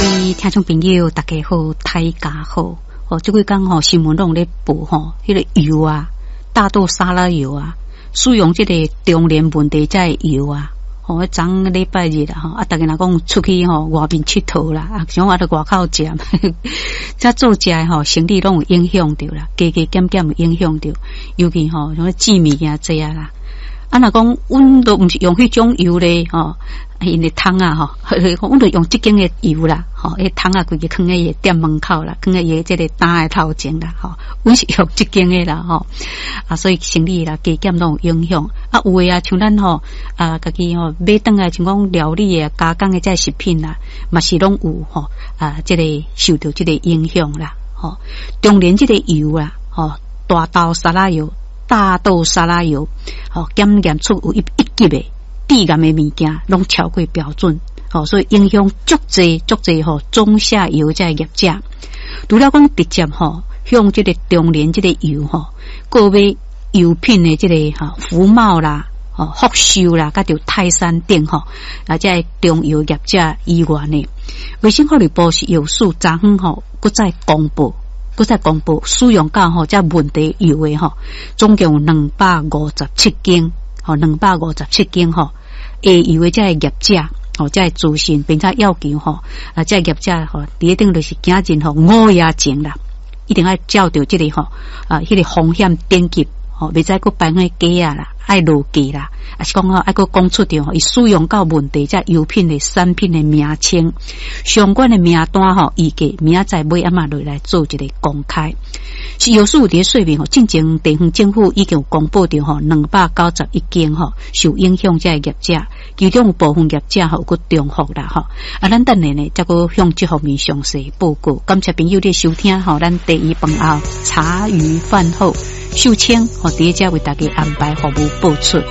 位聽眾朋友，大家好，大家好。哦，這幾工吼新聞攏咧報吼，彼個油啊，大豆沙拉油啊，使用這個中聯問題這个油啊，吼，昨禮拜日啦吼，啊，逐家若講出去吼外面𨑨迌啦，啊，像我佇外口食，這做食的吼，生理攏有影響著啦，加加減減有影響著，尤其吼像煎物件這啊啦。啊，若講阮都毋是用彼種油咧，吼，𪜶的桶仔吼，阮就用這間的油啦，吼，彼桶仔規个囥佇伊的店門口啦，囥佇伊的這個擔的頭前啦，吼，阮是用這間的啦，吼，啊，所以生理啦加減攏有影響。啊，有的啊，像咱吼，啊，家己吼買轉來像講料理的加工的這食品啦，嘛是攏有吼，啊，這個受著這個影響啦，吼，中聯這個油啊，吼，大豆沙拉油。大豆沙拉油，吼，檢驗出有一級的致癌的物件，攏超過標準，吼，所以影響足濟足濟吼中下游這業者。除了講直接吼向這個中聯這個油吼購買油品的這個吼福茂啦、吼福壽啦，佮著泰山頂吼啊，這个中油業者以外呢，衛生福利部食藥署昨昏吼閣再公布。閣再公布使用到吼這問題油的吼，總共有257間，吼兩百五十七間吼，下游的這个業者，吼這个資訊，並且要求吼啊，這个業者吼，佇咧頂就是今日吼午夜前啦，一定愛照著這個吼啊，彼個風險等級吼，袂使閣擺啥假仔啦，愛落價啦，抑是講吼愛閣講出著吼，伊使用到問題這油品的產品的名稱，相關的名單吼，預計明仔載尾暗仔落來做一個公開。食藥署佇咧說明吼，進前地方政府已經有公布著吼291間吼受影響這個業者，其中有部分業者吼有閣重複啦吼。啊，咱等下呢，才閣向這方面詳細報告。感謝朋友的收聽吼，咱茶餘飯後茶餘飯後秀清吼，佇遮為大家安排服務播出。